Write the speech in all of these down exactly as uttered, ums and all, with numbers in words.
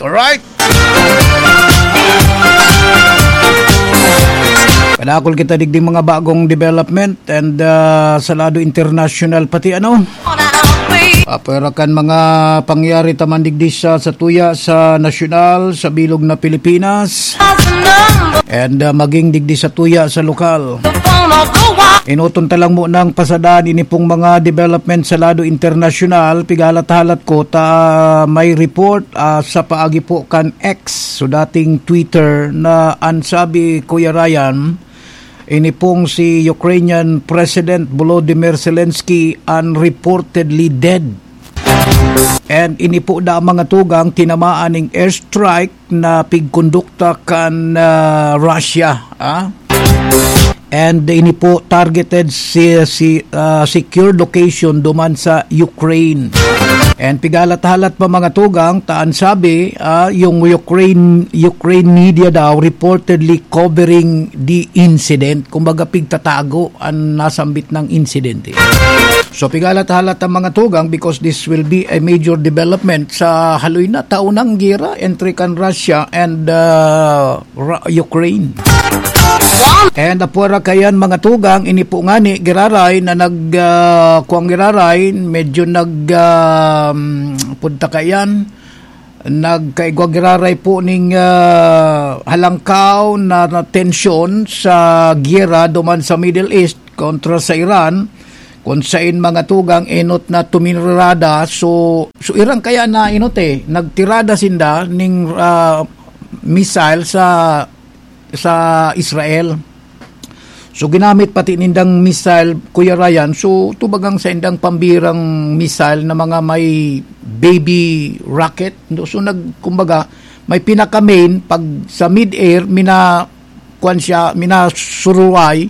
Alright. Padakol kita digdi mga bagong development and, ah, sa lado international pati ano. Apwera kan mga pangyari taman digdi sa, sa tuya sa nasyonal, sa bilog na Pilipinas. And, ah, maging digdi sa tuya sa lokal. Inuton ta lang mo ng pasadaan ini pong mga development sa lado internasyonal. Pigalat-halat ko ta may report, ah, sa paagi po kan X, so dating Twitter, na an sabi, Kuya Ryan, ini pong si Ukrainian President Volodymyr Zelensky an reportedly dead. And ini po da mga tugang tinamaan ning airstrike na pigkondukta kan, ah, Russia, ah. And ini po targeted si, si, ah, secure location duman sa Ukraine. And pigalat-halat pa mga tugang, taan sabi, ah, yung Ukraine, Ukraine media daw reportedly covering the incident. Kumbaga, pigtatago an nasambit ng insidente. So, pigalat-halat ang mga tugang because this will be a major development sa haloy na taon ng gera entre kan Russia and, ah, Ra-, Ukraine. And apwera kayan mga tugang, ini po ngani, giraray na nag, ah, kuwang giraray, medyo nag, ah, punta kayan, nagkaigwa giraray po ning, ah, halangkaw na, na tensyon sa giyera duman sa Middle East kontra sa Iran, kung sain mga tugang enot na tuminirada. So, so Iran kaya na enot eh, nagtirada sinda ning, ah, missile sa, sa Israel. So, ginamit pati nindang missile, Kuya Ryan. So, tubagang sa indang pambirang missile na mga may baby rocket. No? So, nag, kumbaga, may pinaka-main, pag sa mid-air, mina, kwan siya, minasuruway,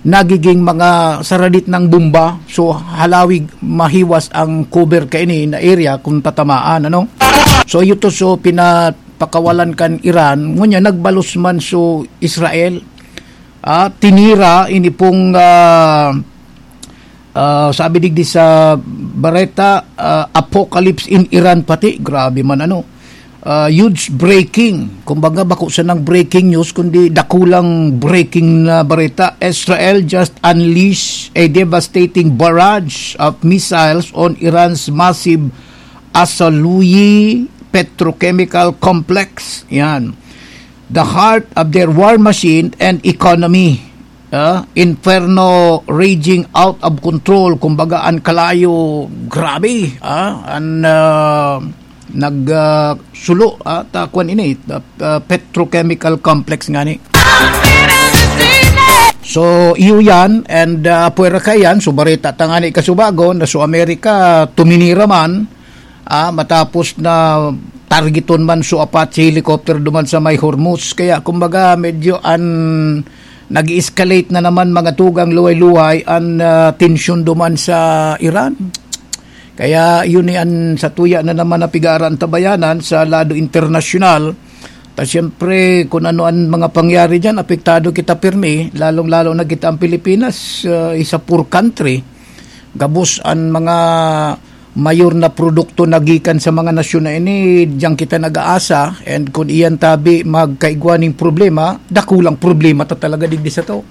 nagiging mga saradit ng bomba. So, halawig, mahiwas ang cover kaini na area kung tatamaan, ano? So, ito, so, pinapakawalan kan Iran. Ngunyan, nagbalos man so Israel. Ah, tinira, ini pong, ah, ah, sabi digdi sa bareta, ah, apocalypse in Iran pati. Grabe man, ano. Ah, huge breaking. Kumbaga, bako sanang breaking news, kundi dakulang breaking na bareta. Israel just unleashed a devastating barrage of missiles on Iran's massive Asaluyi Petrochemical Complex. Yan. The heart of their war machine and economy. Ah, inferno raging out of control. Kumbaga, an kalayo, grabe. Ah, an, ah, nag, ah, sulo, ah, ta, kwan ini, ah, ah, petrochemical complex ngani. So, iyo yan, and, ah, pwera ka yan, so, bareta ta ngani kasubagon, na so, Amerika, tuminira man, ah, matapos na targeton man so Apache helicopter duman sa may Hormuz. Kaya, kumbaga, medyo an, nag-escalate na naman mga tugang luhay-luhay an, ah, tensyon duman sa Iran. Kaya yun ni an satuya na naman na pigaran tabayanan sa lado internasyonal. Ta siyempre, kung ano an mga pangyari diyan, apektado kita pirmi, lalong-lalo na kita ang Pilipinas, ah, isa poor country. Gabos an mga mayor na produkto na gikan sa mga nasyon na ini, diyan kita nag-aasa, and kung iyan tabi magkaigwa ning problema, dakulang problema ta talaga digdi sa to.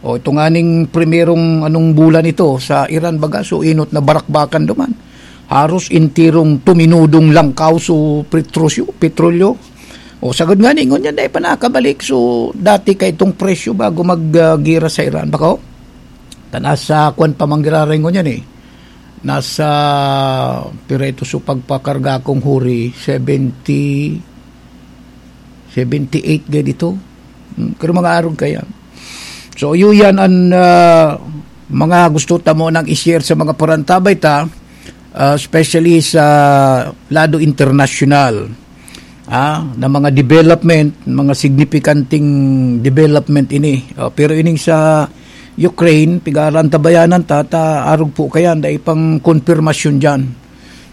O, ito nga ning primerong anong bulan ito sa Iran, baga, so inot na barakbakan duman. Haros intirong tuminudong langkaw so petrosyo, petrolyo. O, sagod nga ni, ngunyan, dai pa nakabalik. So, dati ka itong presyo bago mag, ah, gira sa Iran. Bako? Tanas sa kwan pa manggiraray ngunyan eh. Nasa, pira ito so pagpakarga kong huri, seventy, seventy-eight ga dito. Hmm, pero mga arog kaya. So, iyo yan an, ah, mga gusto ta mo nang i-share sa mga parantabay ta, ah, especially sa lado internasyonal, ah, na mga development, mga signipikanting development ini. Ah, pero ining sa Ukraine, pigaran tabayanan ta, ta arog po kayan, dai pang konfirmasyon diyan.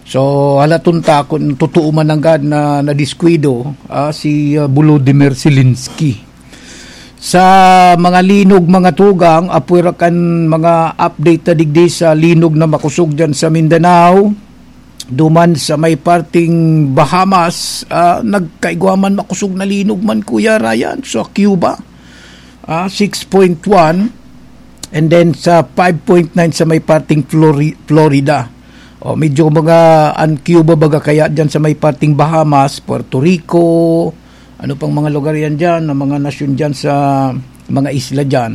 So, halaton ta kung totoo man nanggad na nadiskuido, ah, si, ah, Volodymyr Zelensky. Sa mga linog, mga tugang, apwera kan mga update ta digdi sa linog na makosog diyan sa Mindanao. duman sa may parting Bahamas, ah, nagkaigwa man makosog na linog man, Kuya Ryan, sa Cuba, ah, six point one, and then sa five point nine sa may parting Flori-, Florida. O, medyo mga, an Cuba baga kaya dyan sa may parting Bahamas, Puerto Rico, ano pang mga lugar yan dyan, ang mga nasyon dyan sa mga isla dyan.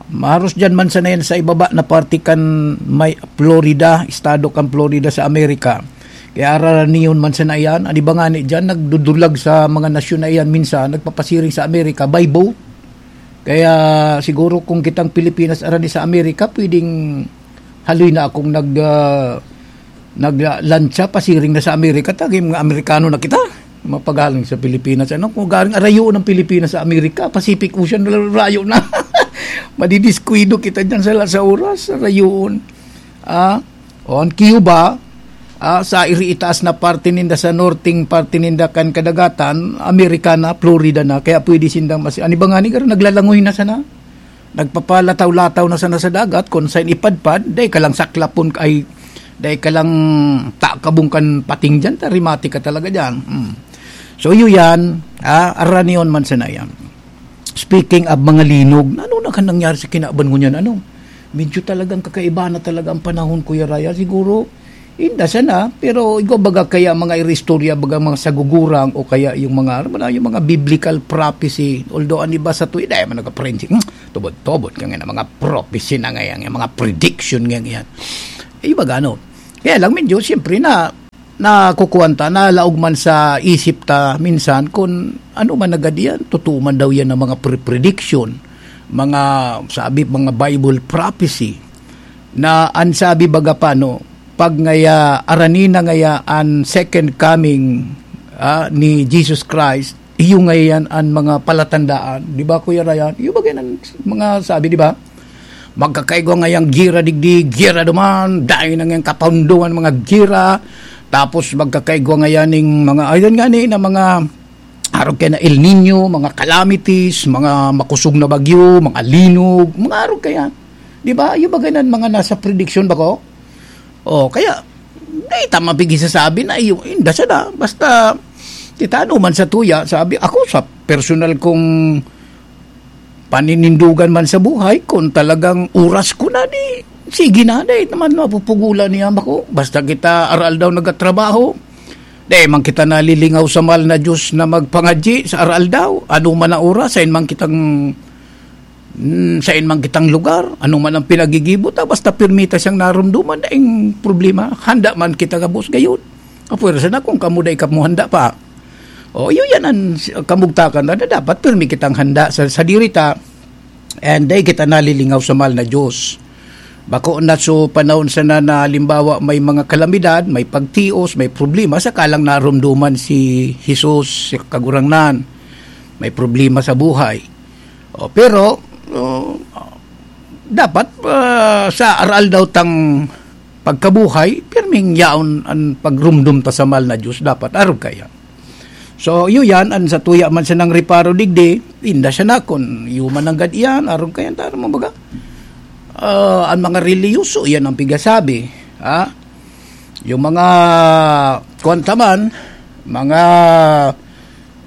Maros dyan man sana yan sa ibaba na parte kan may Florida, estado kan Florida sa Amerika. Kaya araraon man sana yan. An iba ngani dyan, nagdudulag sa mga nasyon na iyan minsan, nagpapasiring sa Amerika by boat. Kaya siguro kung kitang Pilipinas arani sa Amerika, pwedeng haloy na akong nag, ah, naglantsa, pasiring na sa Amerika, ta, mga Amerikano na kita. Mapagaling sa Pilipinas. Ano, kung galing arayoon ng Pilipinas sa Amerika, Pacific Ocean, rayo na. Madidiskuido kita dyan sa, sa oras, arayoon. Ah, o, ang Cuba, ah, sa iriitaas na parte ninda, sa norting parte ninda kan kadagatan, Amerika na, Florida na, kaya pwede sindang mas-, ano ba nga ni, naglalangoy na sana? Nagpapalataw-lataw na sana sa dagat, kung saan ipadpad, dai ka lang saklapon, ay, dai ka lang takabong kan pating dyan, ta rimati ka talaga dyan. Hmm. So, yun yan, ah, aranion man sana yan. Speaking of mga linog, ano na kan nangyari sa kinaban ko niyan? Ano? Medyo talagang kakaiba na talaga ang panahon, Kuya Raya. Siguro, inda sana, pero ikaw baga kaya mga iristorya, baga mga sagugurang o kaya yung mga, ano ba na, yung mga biblical prophecy. Although, ang iba sa tuwi, dahil man nagka-forensic, hmm, tubod-tubod ka nga na mga prophecy na ngayon, yung mga prediction nga ngayon. Eh, iba gano. Kaya lang, medyo, siyempre na, nakukuwan ta, nalaog man sa isip ta minsan kun ano man na gad iyan, totoo man daw iyan ang mga pre-, prediction, mga sabi, mga Bible prophecy, na an sabi baga pa, no, pag ngaya, arani na ngaya an second coming, ah, ni Jesus Christ, iyo ngayan an mga palatandaan, di ba, Kuya Ryan? Iyo ba yan ang mga sabi, di ba? Magkakaigwa ngayang gira digdi, gira duman, dai na ngayang kapaundoman mga gira. Tapos magkakaigwa ngayan ning mga, ayun nga ni, na mga arog kaya na El Nino, mga calamities, mga makusog na bagyo, mga linog, mga arog kaya. Di ba? Yung bagay na mga nasa prediction ba ko? Oh, kaya, di ta mapigisasabi na iyo, inda siya na. Basta, kita ano man sa tuya, sabi, ako sa personal kong paninindugan man sa buhay, kung talagang oras ko na, di, sige na, di naman mapupugulan niya ako. Basta kita aral daw nagatrabaho, di man kita nalilingaw sa mahal na Diyos na magpangadyi sa aral daw. Ano man ang oras, sain man kitang, mm, sain man kitang lugar, ano man ang pinagigibo ta, basta pirmi ta siyang narumduman, daing problema. Handa man kita gabos gayon. Apwersa na kung kamo dai kamo handa pa. O, iyo yan ang s-, kamugtakan na, na dapat pirmi kitang handa sa, sa diri ta, and dai kita nalilingaw sa mahal na Diyos. Bako na so panahon sana na halimbawa may mga kalamidad, may pagtios, may problema, saka lang narumduman si Jesus, si Kagurangnan. May problema sa buhay. O, pero, o, dapat, ah, sa aral daw tang pagkabuhay, pirming yaon an pagrumdom ta sa mahal na Diyos, dapat arog kaya. So, iyo yan, an sa tuya man siya ng reparo digdi, inda siya na, kun iyo man nanggad iyan, arog kaya, taro mo baga. Ah, ang mga reliyoso, yan ang pigasabi. Ha? Yung mga, kuwan ta man, mga,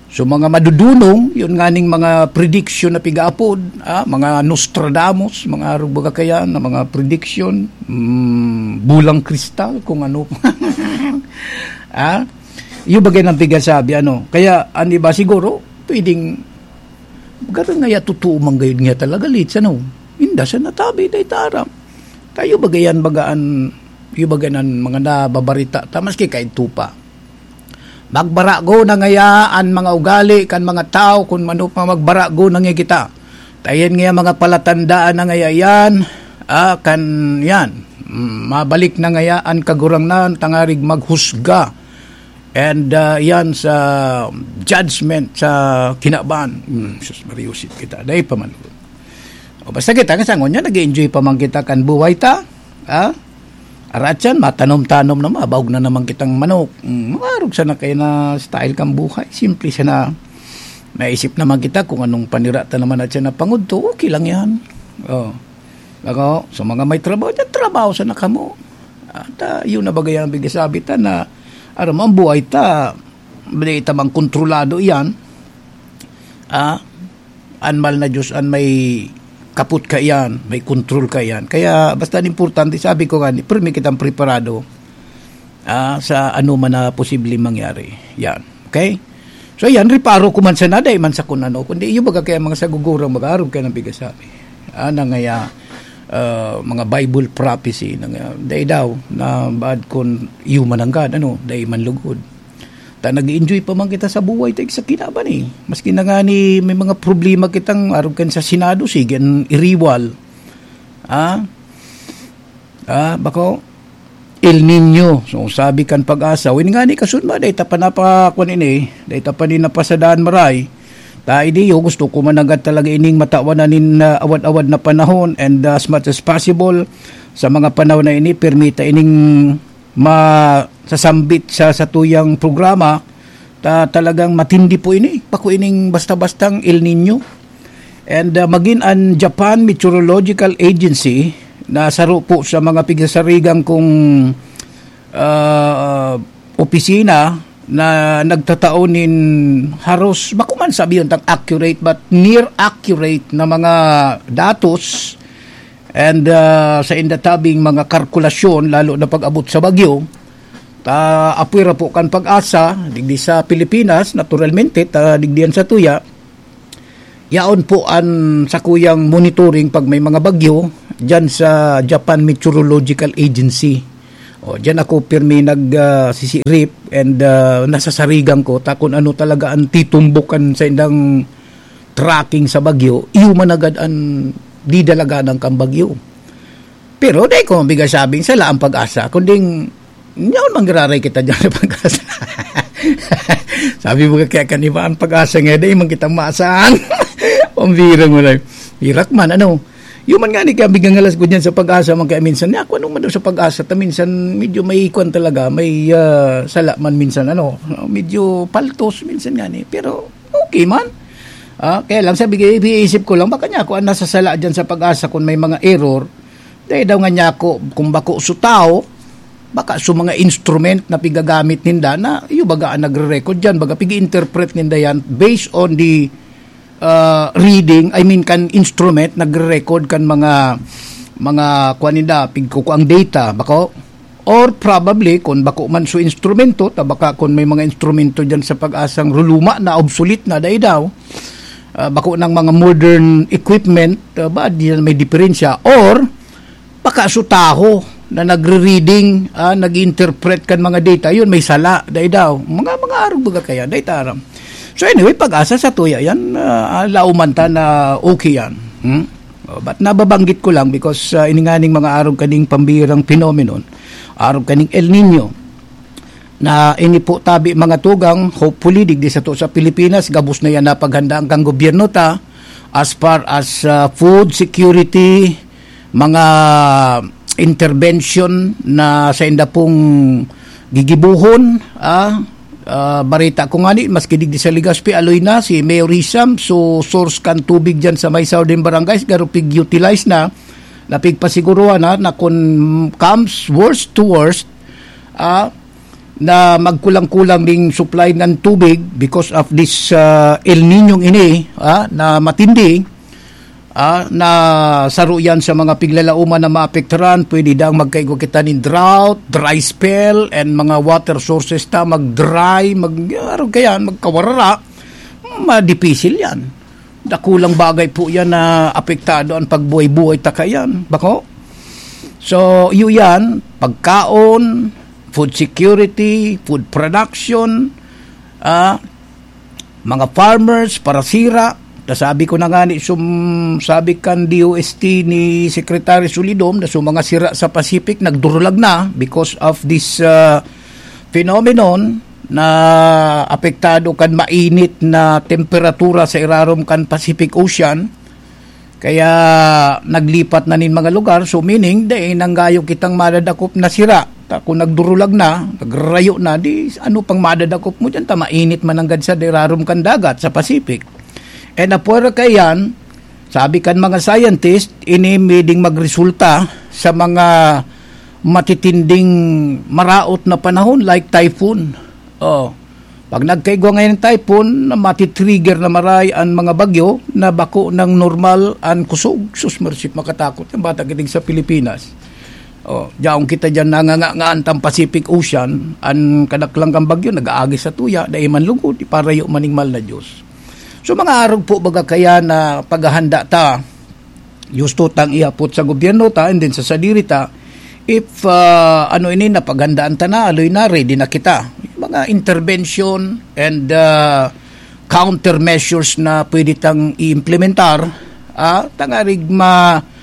so mga madudunong, yun nga ning mga prediction na pigaapod, ah, mga Nostradamus, mga arog baga kaya na mga prediction, mm, bulang kristal, kung ano. Ah, yung bagay ng pigasabi, ano. Kaya, ang iba siguro, pwedeng, garo nga ya, totoo man gayud nga talaga, Litz, ano. Inda sa natabi, dahil taram. Kayo bagayan, bagaan, yung bagayan mga nababarita, ta, maski kayo tupa. Magbarago na ngaya an mga ugali kan mga tawo, kun mano pa magbarago na ngaya kita. Tayan ngaya mga palatandaan na ngaya yan, ah, kan yan. Mm, mabalik na ngaya an Kagurangnan tangarig maghusga. And, ah, yan sa judgment sa kinaban. Mm, sus, mariusip kita. Dai pa man. O, basta kita, kasangon niya, nag-enjoy pa man kita kan buhay ta. Ha? Aratsan, matanom-tanom na, mabaog na naman kitang manok. Mm, maarog sana kayo na style kang buhay. Simple sana. Naisip naman kita kung anong panira ta naman at siya na pangudto. Okay lang yan. Oh. Ako, sa mga may trabaho dyan, trabaho sana kamo. Ah, ta, yun na bagay ang bigasabi ta na, aram mo, ang buhay ta, dai ta man kontrolado iyan. Ah, an mahal na Diyos an may kapot kaiyan, may kontrol kaiyan. Kaya basta an importante, sabi ko nga, pirmi kitang preparado, ah, sa ano man na posibleng mangyari. Yan. Okay? So, yan, reparo ko man sana, dai man sa kun ano, kundi iyo baga kaya mga sagugurang mag-arog kaya ng bigasabi. Ah, na ngaya, ah, mga Bible prophecy, na ngaya, dai daw, na bad kun iyo man ang God, ano, dai man lugod. Ta nag-enjoy pa man kita sa buhay ta sa kinaban eh. Maski na nga ni may mga problema kitang arog kan sa Senado, sige, ang iriwal. Ah? Ah, bako? El Niño. So, sabi kan Pag-asa, "Win nga ni kasunod ba, dahil ta pa napakuan ini, dahil ta pa ni napasadaan maray." Ta, idi, yo, gusto ko managad talaga ining matawan na nin, ah, awad-awad na panahon and, ah, as much as possible, sa mga panahon na ini, permita ining masasambit sa satuyang programa, ta talagang matindi po ini. Bako ining basta-bastang El Niño. And, ah, magin an Japan Meteorological Agency na saro po sa mga pigsasarigan kong, ah, opisina na nagtatao nin haros, bako man sabi yun tang accurate, but near accurate na mga datos and, ah, sa indatabing mga kalkulasyon, lalo na pag-abot sa bagyo, ta apwera po kan Pag-asa, digdi sa Pilipinas, naturalmente, ta digdi yan sa tuya, yaon po an sakuyang monitoring pag may mga bagyo dyan sa Japan Meteorological Agency. O, dyan ako pirmi nag, ah, sisirip and, ah, nasasarigan ko ta kung ano talaga ang titumbukan sa indang tracking sa bagyo, iyo man agad an didalaganan kan bagyo. Pero dai ko mabigasabing sala ang Pag-asa, kunding yaon manggiraray kita dyan sa Pag-asa. Sabi mo kaya kan iba, ang Pag-asa nga, dai man kita masang. Pambira mo na. Hirak man, ano? Iyo man nga ni kaya bigangalas ko dyan sa Pag-asa man kaya minsan. Ni ako, ano man daw sa Pag-asa, ta minsan medyo may ikwan talaga, may, ah, sala man minsan, ano? Medyo paltos minsan nga ni. Pero okay man. Ah, kaya lang, sabi ko, iisip ko lang, baka niya ako ang nasasala dyan sa Pag-asa kung may mga error. Dahil daw nga niya ako, kung bako su tao, baka su mga instrument na pigagamit ninda na, iyo baga ang nagre-record dyan, baga pig-interpret ninda yan based on the, ah, reading, I mean, kan instrument, nagre-record kan mga, mga, kuwan ninda, pigkukuang data, bako? Or probably, kung bako man su instrumento, ta baka kung may mga instrumento dyan sa Pag-asang ruluma na, obsolete na, dai daw, ah, bako ng mga modern equipment, ah, ba, di na may diferensya. Or, baka su taho na nagre-reading, ah, nag-interpret kan mga data, yun, may sala, dai daw. Mga, mga arog baga kaya, dai ta aram. So anyway, Pag-asa sa tuya yan, ah, lauman ta na okay yan. Hmm? Oh, but nababanggit ko lang because, ah, ini nga ning mga arog kaning pambirang phenomenon, arog kaning El Nino, na ini po tabi mga tugang, hopefully, digdi sa to sa Pilipinas, gabos na yan na paghandaan kang gobyerno ta, as far as, ah, food security, mga intervention na sa inda pong gigibuhon, ah, ah, barita ko nga ni, maski digdi sa Legazpi, aloy na si Mayor Hisham, so source kan tubig dyan sa may southern barangays, garo pig-utilize na, na pigpasiguruhan na, na kung comes worst to worst, ah, na magkulang-kulang ding supply ng tubig because of this, ah, El Niño ini, ah, na matindi, ah, na saro yan sa mga piglalauman na maapektaran. Pwede dang magkaigo kita nin drought, dry spell, and mga water sources ta mag-dry, mag, arog kayan, magkawarara. Madipisil yan. Dakulang bagay po yan na apektado ang pagbuhay-buhay ta kayan. Bako? So, iyo yan, pagkaon, food security, food production, ah, mga farmers, parasira. Nasabi ko na nga ni, sum-, sabi kan D O S T ni Secretary Solidom na so mga sira sa Pacific nagdurulag na because of this, ah, phenomenon na apektado kan mainit na temperatura sa irarom kan Pacific Ocean. Kaya naglipat na nin mga lugar. So, meaning, dai nanggayo kitang madadakop na sira. Ta, kung nagdurulag na, nagrayo na, di ano pang madadakop mo dyan? Ta, mainit mananggad sa dirarom kan dagat, sa Pacific. And apwera kaiyan, sabi kan mga scientist, ini pwedeng magresulta sa mga matitinding maraot na panahon like typhoon. Oh. Pag nagkaigwa ngayon ng typhoon, matitrigger na maray ang mga bagyo na bako ng normal ang kusog. Sus, mercy, makatakot yung bata kitig sa Pilipinas. Oh, diyaon kita diyan nangangangaan tang Pacific Ocean, ang kadaklang kang bagyo nag-aagi sa tuya, dai man lugod, iparayo maning mal na Diyos. So, mga arog po, baga kaya na paghahanda ta, gusto tang ihapot sa gobyerno ta, and then sa sadiri ta, if, ah, ano ini, napaghandaan ta na, aloy na, ready na kita. Mga intervention and, ah, countermeasures na pwede tang i-implementar, ah, tangarig ma-,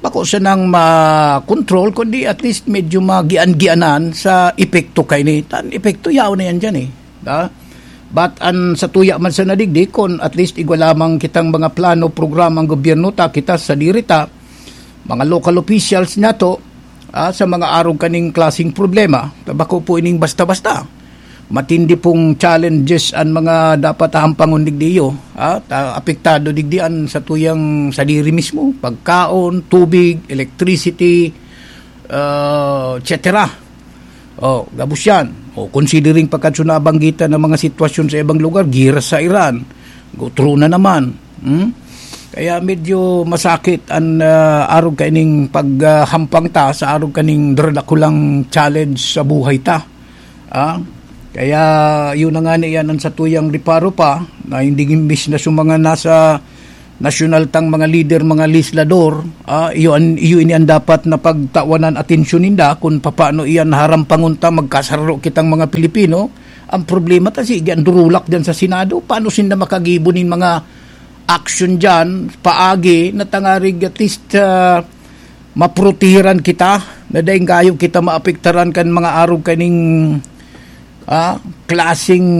bako sanang ma-control, kundi at least medyo magian-gianan sa epekto kaini. Tan epekto, yaon na yan dyan eh. Da? But an sa tuya man sa nadigdi, kun at least igwa lamang kitang mga plano, programa ang gobyerno ta, kita sa diri ta, mga local officials nato, ah, sa mga arog kaning klaseng problema, ta bako po ining basta-basta. Matindi pong challenges an mga dapat hahampangon digdi iyo, ah, ta apektado digdi an sa tuyang sadiri mismo, pagkaon, tubig, electricity, ah, et cetera. Oh, gabos yan. Oh, considering pagkatso nabanggitan ng mga sitwasyon sa ibang lugar, gira sa Iran, gutro na naman. Hmm? Kaya medyo masakit an, ah, arog kaining paghampang ta sa arog kaning darakulang challenge sa buhay ta. Ah? Kaya yun na nga na iyan ang satuyang reparo pa na hindi imbis na sa mga nasa nasyonal tang mga lider, mga legislador, ah, iyo an, iyo ini an dapat na pagtawanan atensyon ninda kun papaano iyan harampangon ta magkasararo kitang mga Pilipino. Ang problema ta sige, ang durulak diyan sa Senado, paano sinda makagibo nin mga action diyan, paagi na tangarig at least, ah, maprotehiran kita, na daing gayo kita maapektaran kan mga arog kaning, ah, klaseng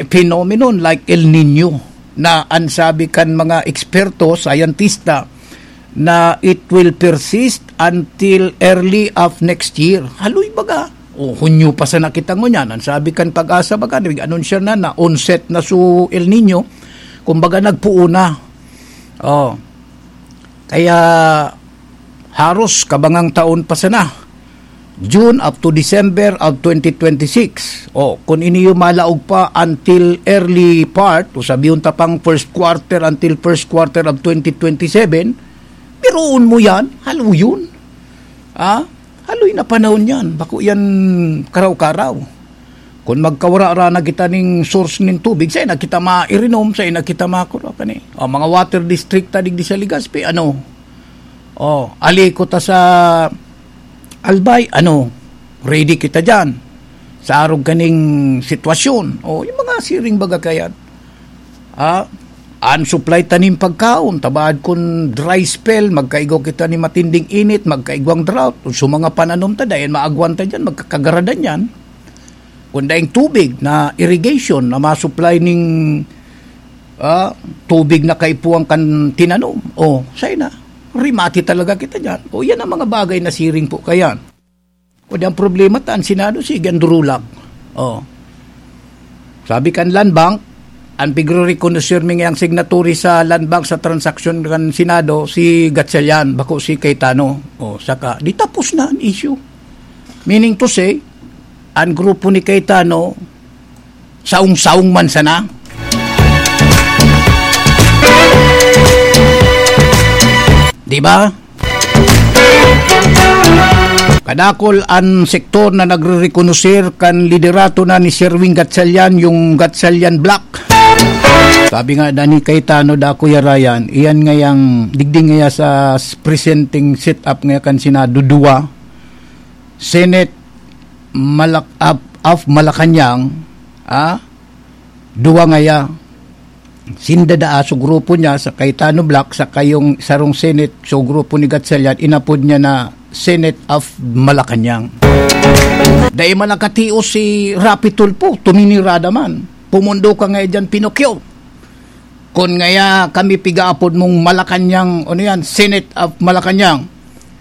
phenomenon like El Nino, na an sabi kan mga eksperto, scientista, na it will persist until early of next year. Haloy baga. O, Hunyo pa sana kita ngunyan. An sabi kan Pag-asa baga, nag-anunsyo na na onset na su El Nino. Kumbaga, nagpuon na. Oh. Kaya, haros kabangang taon pa sana. June up to December of twenty twenty-six. O, kung iniyo malaog pa until early part, o sabihon ta pang first quarter until first quarter of twenty twenty-seven, biruon mo yan, haloy yun. Ah, haloy na panahon yan. Bako yan karaw-karaw. Kung magkawara-ra na kita ning source nin tubig, sa ina kita mairinom, sa ina kita makuro, kani. O, mga water district ta digdi sa Legazpi, ano? O, aliko ta sa Albay, ano? Ready kita dyan. Sa arog kaning sitwasyon. O, yung mga siring baga kayan. Ah, an supply ta nin pagkaon, tabaad kun dry spell, magkaigwa kita ni matinding init, magkaigwang drought, o sa mga pananom ta, dayan maagwan ta dyan, magkakagaradan yan. Kun daing tubig na irrigation na masupply ning, ah, tubig na kaipuhan kan tinanom, o, say na, rimati talaga kita dyan. O, yan ang mga bagay na siring po kayan. O di ang problema ta, an Senado, sige, an durulak. Oh. Sabi kan Land Bank, an pigre-reconocer mi ngayang signatory sa Land Bank sa transaksyon kan Senado, si Gatchalian, bako si Cayetano. Oh, saka, di tapos na an issue. Meaning to say, an grupo ni Cayetano, saong-saong man sana. Di ba? Kadakol an sektor na nagre-rekonoser kan liderato na ni Sherwin Gatchalian, yung Gatchalian Bloc. Sabi nga na ni Cayetano, dako ya rayan, iyan ngayang digdi ngaya sa s-, presenting setup ngaya kan Senado, duwa, Senate Malak-, of, of Malacañang, ah, duwa ngaya. Sinda daa, so grupo niya, sa Cayetano Bloc, sa kayong sarong Senate, so grupo ni Gatchalian, inapod niya na Senate of Malacañang. Dai man nakatios si Raffy Tulfo, tuminirada man. Pumundo ka nga dyan, Pinocchio. Kun ngaya kami pigaapod mong Malacañang, ano yan, Senate of Malacañang.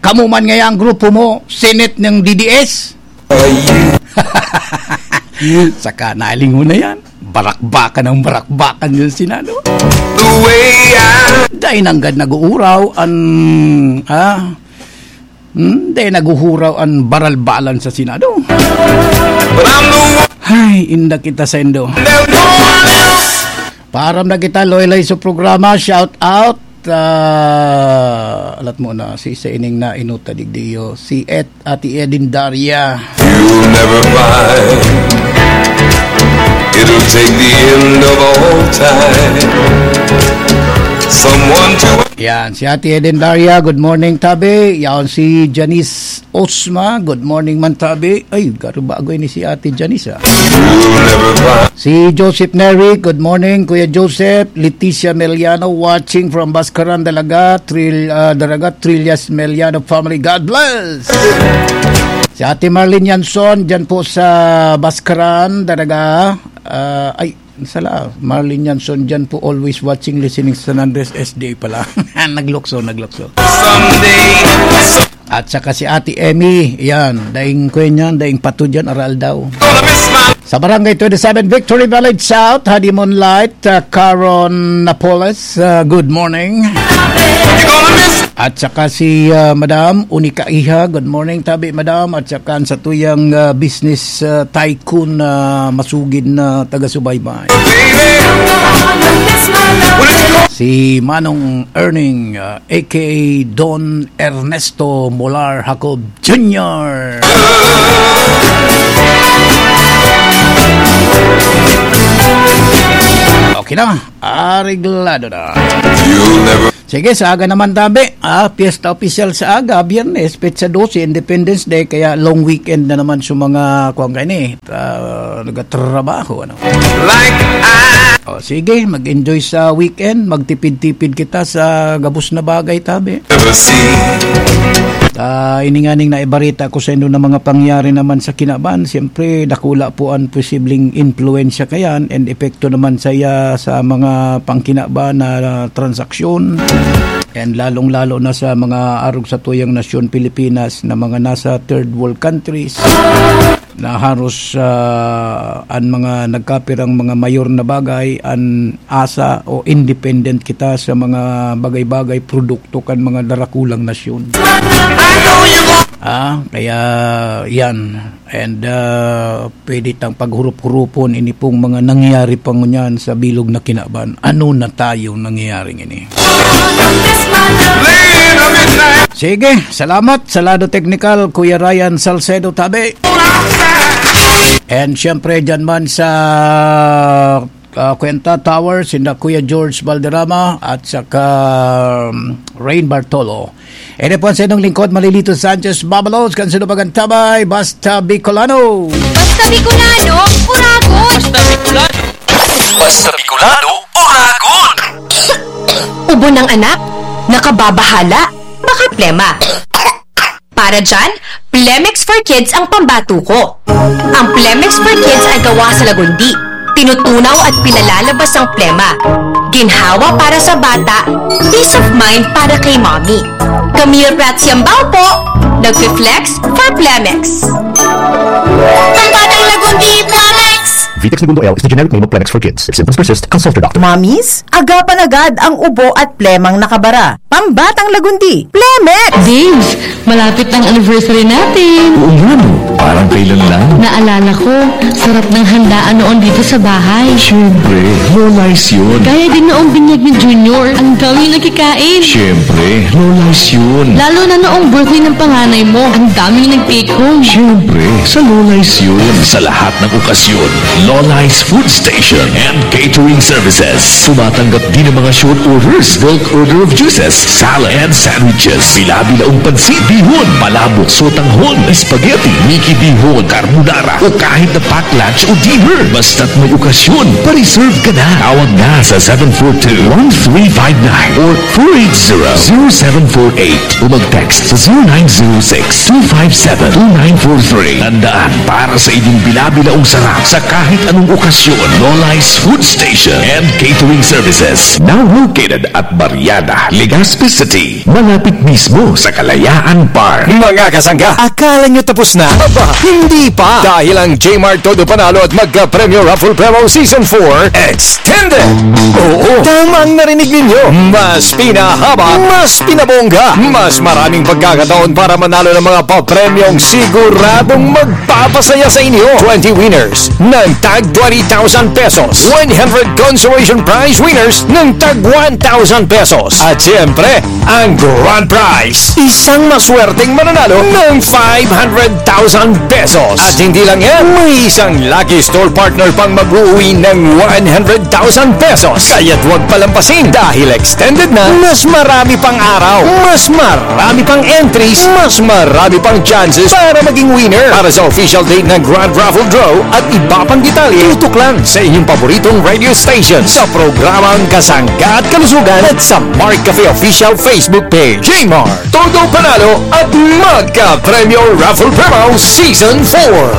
Kamo man ngaya ang grupo mo, Senate ng D D S. Saka nalingon na yan. Barakbakan ang barakbakan yung Senado. The way I Dahil nanggad nag-uuraw, ang, ah, Hmm, di naghuhuraw an baralbalan sa Senado. But I'm the one, Hay, inda kita saindo. There's no one else. Paaram na kita, loy-loy sa programa. Shout out. Ah, alat mo na, si sa ining na inuta digdiyo, si Et, Ate Edin Daria. You'll never find it'll take the end of all time. Someone to Yan, si Ate Eden Daria, good morning, tabi. Yan, si Janice Osma, good morning man, tabi. Ay, garo bago ini si Ate Janice, ah. You'll never find Si Joseph Neri, good morning, Kuya Joseph. Leticia Meliano, watching from Bascaran, Dalaga, Tril, ah, Daraga, Trillas Meliano family. God bless! Si Ate Marlene Yanson, dyan po sa Bascaran, Daraga. Ah, ay, sala, Marlene Yanson, dyan po, always watching, listening sa San Andres S D A pala. Naglukso, naglukso. Someday. At saka si Ate Emmy, yan, daing kuya niyan, daing pato dyan, aral daw. Sa Barangay twenty-seven Victory Village South, Honeymoon Light, uh, Caron Napoles, uh, good morning. At saka si, uh, Madam Unica Iha, good morning, tabi, Madam. At saka ang satuyang, uh, business, uh, tycoon na masugid na taga-subaybay. Si Manong Erning, uh, A K A Don Ernesto Molar Jacob Junior. Okay na, areglado na. You'll never Sige, sa aga naman, tabi. Ah, piyesta opisyal sa aga, Biyernes, petsa dose, Independence Day, kaya long weekend na naman sa mga, kuwan kayo ni, ah, nagtatrabaho, ano. Like I O, sige, mag-enjoy sa weekend, magtipid-tipid kita sa gabos na bagay, tabi. Never see. Ah, ini nganing naibarita ko sa inyo na mga pangyayari naman sa kinaban, siyempre, dakula po ang posibleng impluwensya kayan and epekto naman sa iya sa mga pangkinaban na transaksyon. And lalong-lalo na sa mga arog sa tuyang nasyon Pilipinas na mga nasa third world countries na haros, ah, an mga nagkapirang mga mayor na bagay, an asa o independent kita sa mga bagay-bagay, produkto kan mga darakulang nasyon. Ah, kaya yan. And, ah, pwede tang paghurup-hurupon ini pong mga nangyayari pa ngunyan sa bilog na kinaban. Ano na tayong nangyayaring ini? Sige, salamat sa lado teknikal, Kuya Ryan Salcedo Tabe. And syempre, dyan man sa, ah, Kwenta Tower, sinda Kuya George Valderrama at saka, um, Rain Bartolo. Ito po ang sa inyong lingkod, Malilito Sanchez Babalos, kan Sinubagan Tabay, Basta Bicolano. Basta Bicolano, Uragon! Basta Bicolano, Uragon! Ubo ng anak, nakababahala, baka plema. Para dyan, Plemex for Kids ang pambato ko. Ang Plemex for Kids ay gawa sa lagundi. Tinutunaw at pinalalabas ang plema. Ginhawa para sa bata, peace of mind para kay mommy. Camille Prats Yambao po, nagfi-flex for Plemex. Pambatang lagundi, Plemex! Vitex Negundo L is the generic name of Plemex for Kids. If symptoms persist, consult your doctor. Mommies, agapan agad ang ubo at plemang nakabara. Pambatang lagundi, Plemex! Babes, malapit ang anniversary natin! Oo nga, no? Parang kailan lang. Naalala ko, sarap ng handaan noon dito sa bahay. Siyempre, Lola's yun. Gaya din noong binyag ni Junior, ang daming nakikain. Siyempre, Lola's yun. Lalo na noong birthday ng panganay mo, ang daming nag-take home. Siyempre, sa Lola's yun. Sa lahat ng okasyon, Lola's Food Station and Catering Services. Tumatanggap din ng mga short orders, bulk order of juices, salad, and sandwiches. Bila-bilaong pansit, bihon, palabok, sotanghon, spaghetti, Mickey bihon, carbonara, o kahit na pack lunch o dinner. Basta't may okasyon, pa-reserve ka na. Tawag na sa seven four two, one three five nine or four eight zero, zero seven four eight o mag-text sa zero nine zero six, two five seven, two nine four three. Tandaan, para sa inyong bila-bilaong sarap sa kahit Okasyon, Nolai's Food Station and Catering Services. Now located at Barriada, Legazpi City. Malapit mismo sa Kalayaan Park. Mga kasangga, akala nyo tapos na? Aba, hindi pa! Dahil ang J-Mart Todo Panalo at Magka-Premyo Raffle Promo Season four Extended! Oo, tama ang narinig ninyo! Mas pinahaba, mas pinabongga, mas maraming pagkakataon para manalo ng mga papremyong siguradong magpapasaya sa inyo. Twenty winners ng tag twenty thousand pesos, one hundred consolation prize winners ng tag one thousand pesos, at siyempre, ang grand prize, isang maswerteng mananalo ng five hundred thousand pesos. At hindi lang yan, may isang lucky store partner pang mag-uwi ng one hundred thousand pesos. Kaya't huwag palampasin dahil extended na, mas marami pang araw, mas marami pang entries, mas marami pang chances para maging winner. Para sa official date ng Grand Raffle Draw at iba pang detalye, tutok lang sa inyong paboritong radio station sa programang Kasangga at Kalusugan at sa Mark Cafe Official Facebook Page. J-Mart, Todo Panalo at Magka-Premyo Raffle Promo Season four.